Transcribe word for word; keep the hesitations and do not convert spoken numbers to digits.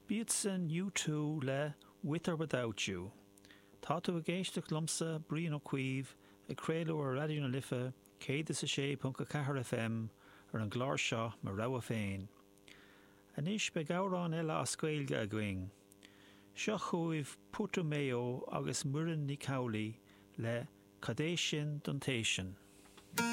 B'iadsan U Two le With or Without You. Tá tú ag éisteacht liomsa, Brian Ó Cuív, ag craoladh ar Raidió na Life céad is a sé ponc a ceathair FM ar an gclár seo Mo Rogha Féin. Anois beidh amhrán eile as Gaeilge againn. Seo chugaibh Putumayo agus Muireann Nic Amhlaoibh le Cad é sin don té sin.